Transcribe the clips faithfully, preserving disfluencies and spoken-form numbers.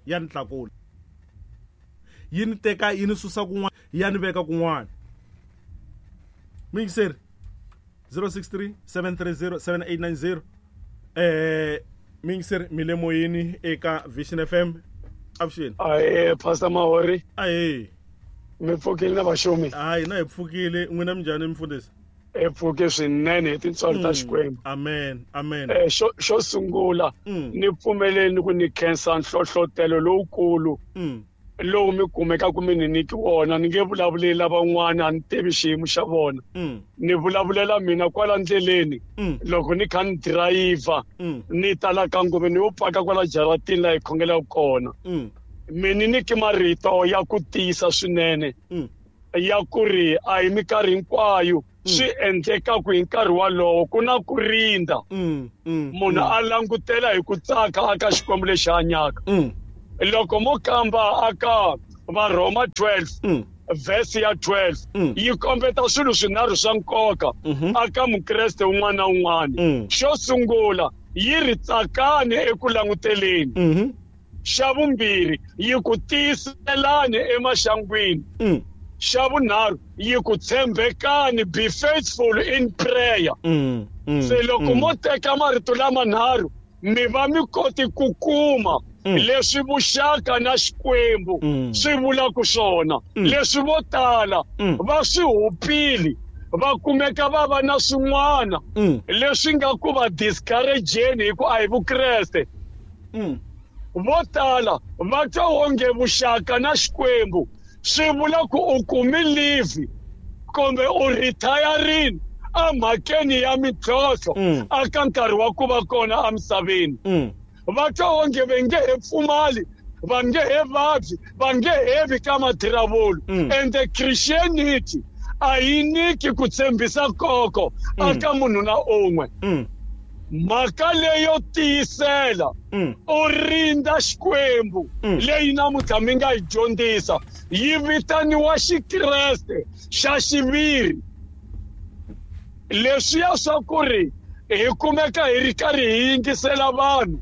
Ya ni tlakula. Yi ni teka yi ni susa kun'wana ya ni veka kun'wana. Mixer zero six three seven three zero seven eight nine zero. Eh mixer mi le moyeni eka Vision F M. Avuxeni. Aye Pastor Mahori. Aye. Mi pfukile na vaxumi. Hayi na hi pfukile n'wina minjhani mfundhisi? Hi pfuke swinene hi tintswalo ta Xikwembu. Amen. Amen. Eh xo xo sungula ni pfumeleni ku ni khensa nhlohlotelo lowukulu. Lowu mi kumekaka mi ni nyiki wona ni nge vulavuleli lavan'wana a ni tivi xiyimo xa vona. Ni vulavulela mina kwala ndleleni loko ni kha ni dirayivha ni ta la ka ngome ni yo paka kwala jaratini laha hi khongelaka kona. Mi ni nyiki marito ya ku tiyisa swinene ya ku ri a hi minkarhi hinkwayo swi endlekaku hi nkarhi walowo ku na ku rindza munhu a langutela hi ku tsaka aka Xikwembu lexi hanyaka. Loko mo kamba aka Varhoma twelve verse ya twelve yi kombeta swilo swinharhu swa nkoka aka Mukreste un'wana na un'wana. Xo sungula yi ri tsakani eku languteleni. Xa vumbirhi yi ku tiyiselani emaxangwini. Xa vunharhu yi ku tshembekani, be faithful in prayer. Se loko mo teka marito lamanharhu mi va mi koti ku kuma leswi vuxaka na Xikwembu swi vulaka swona. Leswi vo tala va swi hupile va kumeka va va na swin'wana leswi nga ku va discourageni hi ku a hi Vukreste. Vo tala va twa onge vuxaka na Xikwembu swi vula ku u kumi leave kumbe u retiring emhakeni ya mintlhontlho aka nkarhi wa ku va kona emisaveni. Va twa onge va nge he pfumali, va nge he vabyi, va nge he vi ka mathiravulu. And the Christianity a yi nyiki ku tshembisa koko aka munhu na un'we. Mhaka leyo tiyisela u rindza Xikwembu leyi namuntlha mi nga yi dyondzisa yi vitaniwa Xikreste xa xiviri. Leswiya swa ku ri hi kumeka hi ri karhi hi yingisela vanhu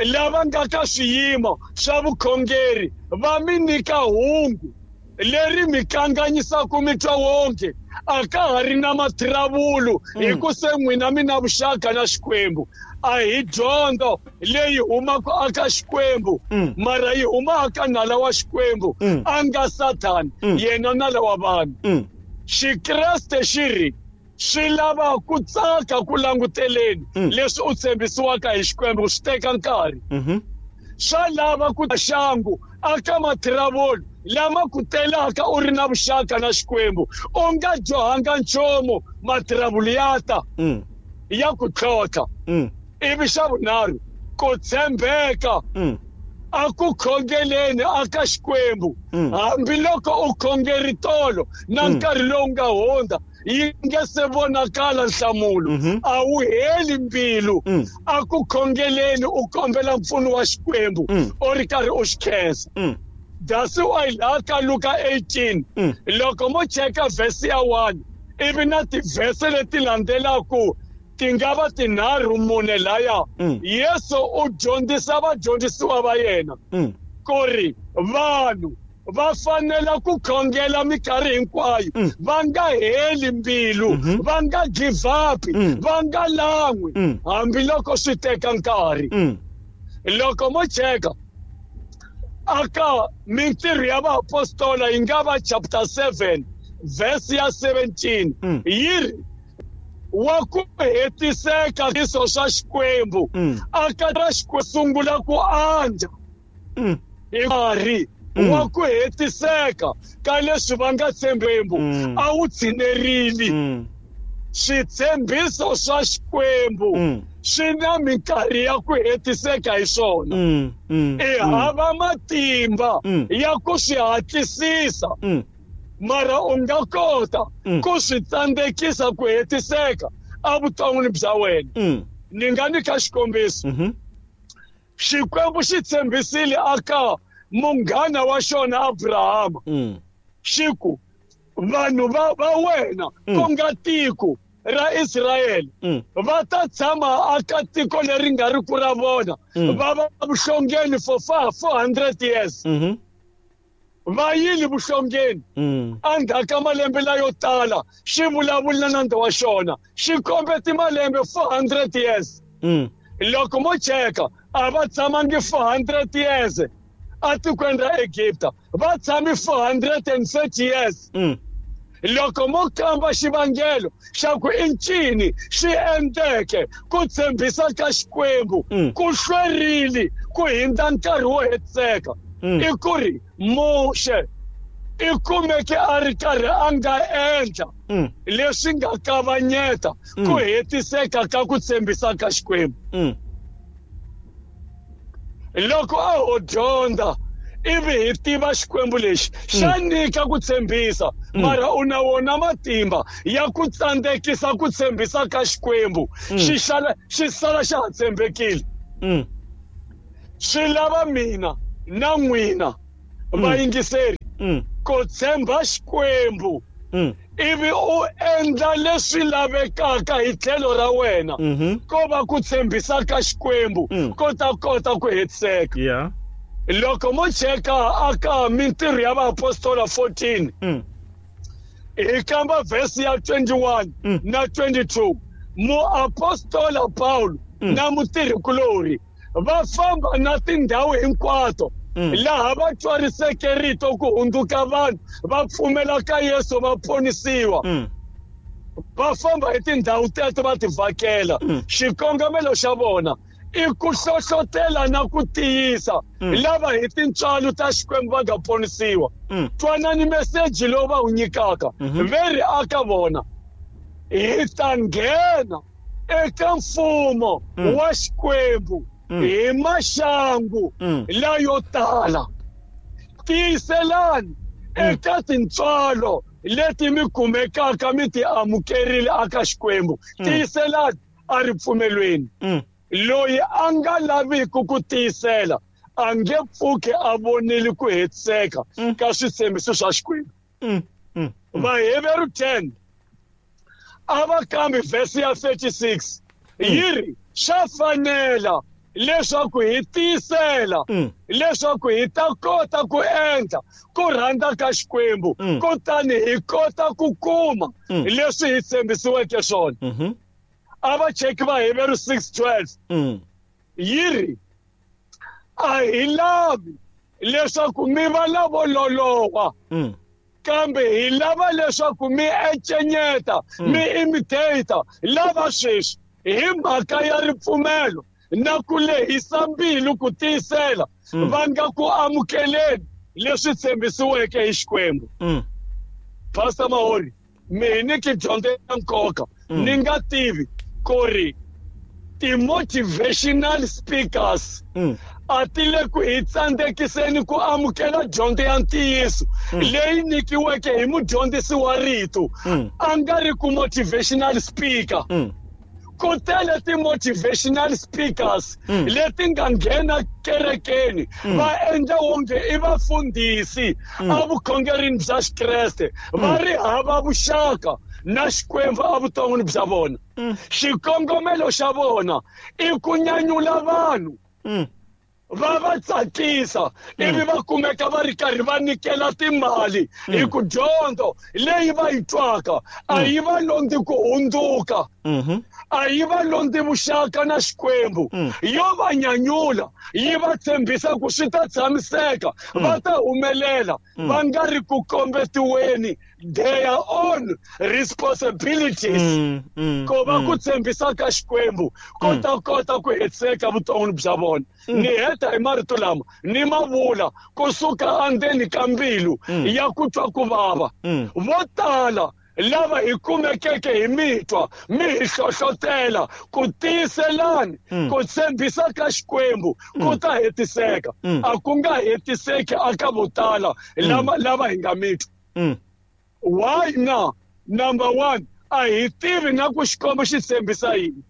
lava nga ka swiyimo swa vukhongeri va mi nyika hungu leri mi kanganyisaka mi twa wonge a ka ha ri na mathiravulu hi ku se n'wina mi na vuxaka na Xikwembu. A hi dyondzo leyi humaka aka Xikwembu mara yi huma aka nala wa Xikwembu a nga Sathani yena nala wa vanhu. Xikreste xi ri swi lava ku tsaka ku languteleni leswi u tshembisiwaka hi Xikwembu swi teka nkarhi. Swa lava ku xangu aka mathiravulu lama ku telaka u ri na vuxaka na Xikwembu u nga dyohanga nchumu mathiravulu ya ta ya ku tlhontlha. Ivi xa vunharhu ku tshembeka a ku khongeleni aka Xikwembu hambiloko u khongeri tolo na nkarhi lowu nga hundza yi nge se vonakala nhlamulo a wu heli mbilu a ku khongeleni u kombela mpfuno wa Xikwembu u ri karhi u xi khensa. That's why laha ka Luka eighteen loko mo cheka verse ya one ivi na tivhese leti landzelaka ti nga va tinharhu mune laya Yesu u dyondzisa vadyondzisiwa va yena ku ri vanhu va fanela ku khongela minkarhi hinkwayo va nga heli mbilu va nga give up va nga lan'wi hambiloko swi teka nkarhi. Loko mo cheka aka mintirho ya vaapostola yi nga va chapter seven verse ya seventeen yi ri wa ku hetiseka swiso swa Xikwembu aka ra Xikwembu sungula ku andza hi nkarhi wa ku hetiseka ka leswi va nga tshembembu a wu tshinerile. Switshembiso swa Xikwembu swi na minkarhi ya ku hetiseka hi swona. I hava matimba ya ku swi hatlisisa mara u nga kota ku swi tsandzekisa ku hetiseka evuton'wini bya wena. Ni nga nyika xikombiso. Xikwembu xi tshembisile aka munghana wa xona Abrahama xi ku vanhu va va wena ku nga tiko ra Israyele va ta tshama aka tiko leri nga ri ku ra vona va va vuhlongeni for four hundred years. Va yile vuhlongeni endzhaku ka malembe layo tala xi vulavula na nandza wa xona xi kombete malembe four hundred years. Loko mo cheka a va tshamangi four hundred years atikweni ra Egipta, va tshame four hundred and thirty years. Loko mo kamba xivangelo xa ku i ncini xi endleke ku tshembisa ka Xikwembu ku hlwerile ku hindza nkarhi wo hetiseka, i ku ri Muxe i kumeke a ri karhi a nga endla leswi nga kavanyeta ku hetiseka ka ku tshembisa ka Xikwembu. Loko a ho dyondza ivi hi tiva Xikwembu lexi xa nyika ku tshembisa, mara u na wona matimba ya ku tsandzekisa ku tshembisa ka Xikwembu, xi xala xi sala xa ha tshembekile. Swi lava mina na n'wina vayingiseri ku tshemba Xikwembu ivi u endla leswi lavekaka hi tlhelo ra wena ko va ku tshembisa ka Xikwembu ko ta kota ku hetiseka. Yeah. Loko mo cheka aka mintirho ya vaapostola fourteen hi kamba verse ya twenty-one na twenty-two, muapostola Paulo na mutirhikulori va famba na tindhawu hinkwato laha va twariseke rito ku hundzuka vanhu va pfumela ka Yesu va ponisiwa. Va famba hi tindhawu teto va ti vhakela. Xikongomelo xa vona i ku hlohlotela na ku tiyisa lava hi tintswalo ta Xikwembu va nga ponisiwa. Twanani meseji lowu va wu nyikaka ve ri aka vona hi ta nghena eka mfumo wa Xikwembu hi maxangu layo tala. Tiyiselani eka tintswalo leti mi kumekaka mi ti amukerile aka Xikwembu. Tiyiselani a ripfumelweni. Loyi a nga laviki ku tiyisela a nge pfuki a vonile ku hetiseka ka switshembiso swa Xikwembu. Vaheveru ten a va kambi verse ya thirty-six yi ri swa fanela leswaku hi tiyisela leswaku hi ta kota ku endla ku rhandza ka Xikwembu kutani hi kota ku kuma leswi hi tshembisiweke swona. A va cheki Vaheveru six twelve yi ri a hi lavi leswaku mi va lavo loloha kambe hi lava leswaku mi encenyeta mi imitate lava sweswi hi mhaka ya ripfumelo na ku lehisa mbilu ku tiyisela va nga ku amukeleni leswi tshembisiweke hi Xikwembu. Pastor Mahori, mi hi nyiki dyondzo ya nkoka ni nga tivi ku ri ti-motivational speakers a ti le ku hi tsandzekiseni ku amukela dyondzo ya ntiyiso leyi nyikiweke hi mudyondzisi wa rito a nga ri ku motivational speaker. Ku tele ti-motivational speakers leti nga nghena kerekeni va endla wonge i vafundhisi evukhongerini bya Xikreste va ri hava vuxaka na Xikwembu evuton'wini bya vona. Xikongomelo xa vona i ku nyanyula vanhu va va tsakisa ivi va kumeka va ri karhi va nyikela timali hi ku dyondzo leyi va yi twaka a yi va londzi ku hundzuka, a yi va londzi vuxaka na Xikwembu, yo va nyanyula yi va tshembisa ku swi ta tshamiseka va ta humelela va nga ri ku kombetiweni their own responsibilities ko va ku tshembisa ka Xikwembu ko ta kota ku hetiseka vuton'wini bya vona. Ni heta hi marito lama ni ma vula kusuka endzeni ka mbilu ya ku twa ku vava. Vo tala lava hi kumekeke hi mitwa mi hi hlohlotela ku tiyiselani ku tshembisa ka Xikwembu ku ta hetiseka, a ku nga hetiseki aka vo tala lava lava hi nga mitwa. Why na? Number one, a hi tivi na ku Xikwembu xi tshembisa yini.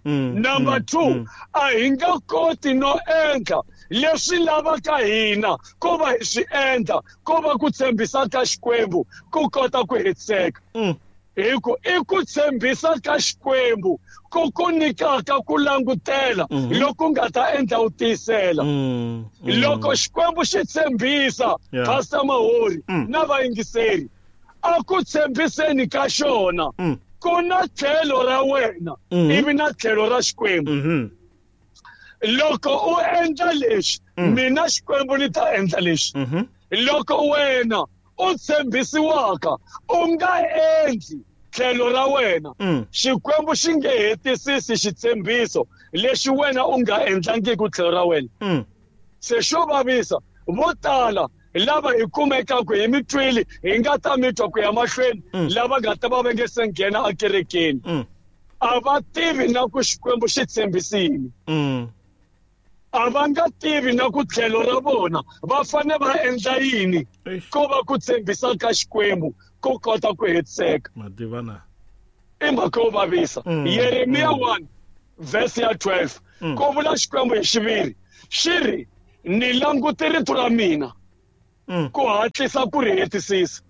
Number two, a hi nga koti no endla leswi lavaka hina ko va hi swi endla ko va ku tshembisa ka Xikwembu ku kota ku hetiseka. Hi ku i ku tshembisa ka Xikwembu ku ku nyikaka ku langutela loko nga ta endla u tiyisela. Loko Xikwembu xi tshembisa, Pastor Mahori na vayingiseri, a ku tshembiseni ka xona ku na tlhelo ra wena ivi na tlhelo ra Xikwembu. Loko u endla leswi, mina Xikwembu ni ta endla leswi. Loko wena u tshembisiwaka u nga endli tlhelo ra wena, Xikwembu xi nge hetisisi xitshembiso lexi wena u nga endlangiki tlhelo ra wena. Se xo vavisa vo tala lava hi kumekaka hi mitwili hi nga ta mitwa ku ya mahlweni, lava nga ta va va nge se nghena ekerekeni, a va tivi na ku Xikwembu xi tshembisile. A va nga tivi na ku tlhelo ra vona va fanele va endla yini ko va ku tshembisa ka Xikwembu ku kota ku hetiseka. I mhaka yo vavisa. Yeremiya one verse ya twelve ku vula Xikwembu hi xiviri xi ri, ni langute rito ra mina ku hatlisa ku ri hetisisa.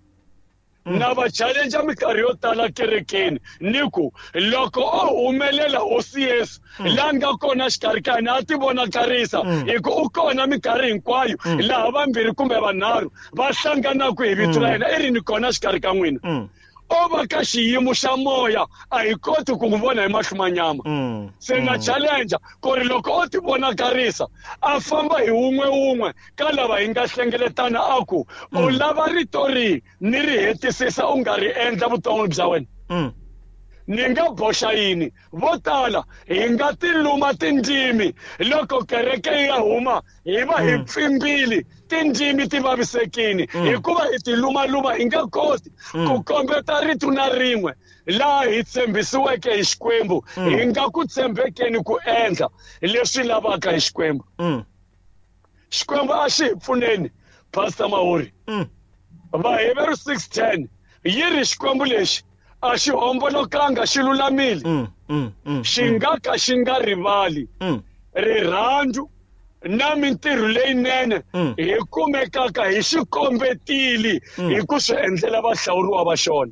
Na va challenge minkarhi yo tala kerekeni ni ku loko o humelela Hosi Yesu la nga kona xikarhi ka hina a ti vonakarisa, hi ku u kona minkarhi hinkwayo laha vambirhi kumbe vanharhu va hlanganaka hi vito ra yena, i ri ni kona xikarhi ka n'wina. O va ka xiyimo xa moya a hi koti ku n'wi vona hi mahlo ma nyama. Se na challenge ku ri loko o ti vonakarisa a famba hi wun'we wun'we ka lava hi nga hlengeletana a ku u lava rito rihi ni ri hetisisa u nga ri endla vuton'wini bya wena. Ni nga boxa yini? Vo tala hi nga tiluma tindzimi loko kereke yi ya huma hi va hi pfimbile tindzimi ti vavisekile, hikuva hi tilumaluma hi nga koti ku kombeta rito na rin'we laha hi tshembisiweke hi Xikwembu, hi nga ku tshembekeni ku endla leswi lavaka hi Xikwembu. Xikwembu a xi hi pfuneni, Pastor Mahori. Vaheveru six ten yi ri Xikwembu lexi a xi hombolokanga, xi lulamile, xi nga ka xi nga rivali rirhandzu na mintirho leyinene hi kumekaka hi xi kombetile hi ku swi endlela vahlawuriwa va xona.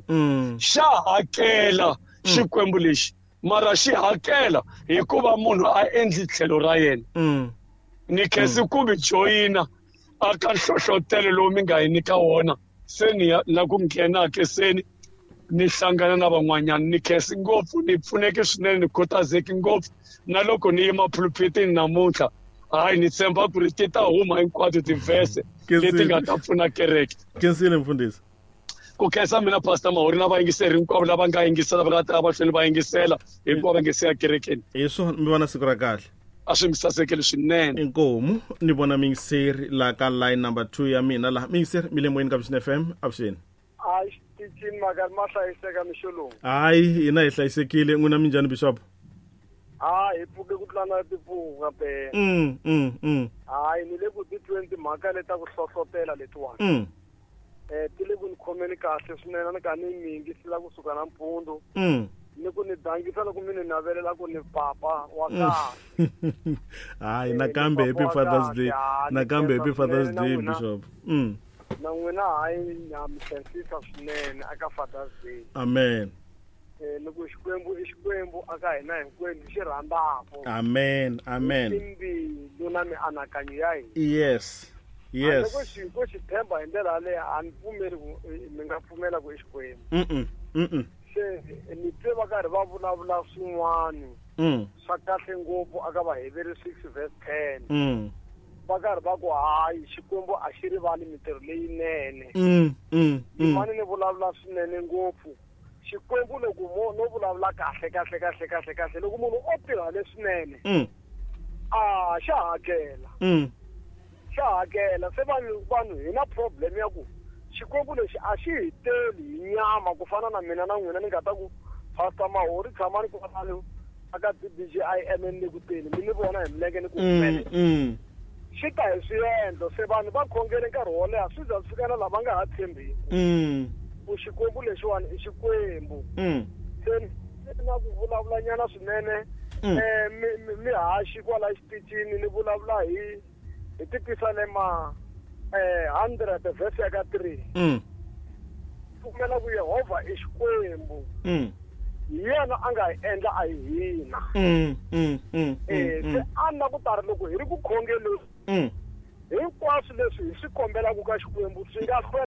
Xa hakela Xikwembu lexi, mara xi hakela hikuva munhu a endli tlhelo ra yena. Ni khensi ku mi joyina aka nhlohlotelo lowu mi nga hi nyika wona, se ni la ku nghena ke seni ni hlangana na van'wanyana. Ni khensi ngopfu, ni pfuneke swinene, ni khutazeki ngopfu na loko ni yima phulphitini namuntlha. Hayi, ni tshemba ku ri ti ta huma hinkwato tivhese leti nga ta pfuna kereke. Khensile mfundhisi. Ku khensa mina Pastor Mahori na vayingiseri hinkwavo lava nga yingisela, va nga ta va hlweli va yingisela hinkwavo va nge se ya kerekeni. Hi swona, mi vona siku ra kahle. A swi mi sasekele swinene. Inkomu, ni vona miyingiseri la ka line number two ya mina laha. Miyingiseri mi le moyeni ka Vision F M, avuxeni. Hayi, xitichini maka ma hlayiseka mixo lowu. Hayi, hina hi hlayisekile. N'wina minjhani Bishop? Hayi, hi pfuke ku tlula na timpfuka phela. Mm, mm, mm. Hayi, ni le ku titweni timhaka leti ta ku hlohlotela letiwani. Mm. Eh, ti le ku ni khomeni kahle swinene, ni ka ni mi yingisela kusuka nampundzu. Mm. Ni ku ni dangisa loko mi ni navelela ku ni papa wa kahle. Hayi, nakambe happy Father's Day. Nakambe happy Father's Day, Bishop. Mm. Na n'wina hayi, na mi khensisa swinene aka Father's Day. Amen. Eh, ni ku Xikwembu i Xikwembu aka hina hinkwenu xi rhandzaka. Amen, amen. Timbilu na mianakanyo ya hina. Yes. Yes. Loko xi ko xi tshemba hi ndlela yaleyo, a ni pfumeli ku mi nga pfumela ku i Xikwembu. Mm-mm, mm-mm. Se ni twe va karhi va vulavula swin'wana swa kahle ngopfu aka Vaheveru six verse ten. Mm. Va karhi va ku hayi, Xikwembu a xi rivali mintirho leyinene. Mm, mm, Ni fane ni vulavula swinene ngopfu. Xikwembu loko mo no vulavula kahle kahle kahle kahle kahle, loko munhu o tirha leswinene, Mm. a xa hakela. Mm. Xa hakela. Se vanhu, vanhu hi na problem ya ku Xikwembu lexi a xi hi teli hi nyama ku fana na mina na n'wina ni nga ta ku Pastor Mahori tshamani kwalano aka D B J I M N le ku teni, mi ni vona hi milenge ni ku Mm, mm. Xi ta hi swiendlo. Se vanhu va khongele nkarhi wo leha, swi za swi fika na lava nga ha tshembiki. Mm. Ku Xikwembu lexiwani i Xikwembu. Mm. Se ni na ku vulavulanyana swinene, Mm. eh, mi, mi, mi haxi kwala xitichini ni vulavula hi, hi tipisalema, eh, hundred verse ya ka three. Mm. Pfumela ku Yehovha i Xikwembu. Mm. Hi yena a nga hi endla a hi hina. Mm. Mm. Mm. Eh, se Mm. a ni na ku tari loko hi ri ku khongeleni Mm. hinkwaswo leswi hi swi kombelaka ka Xikwembu swi nga hlwela.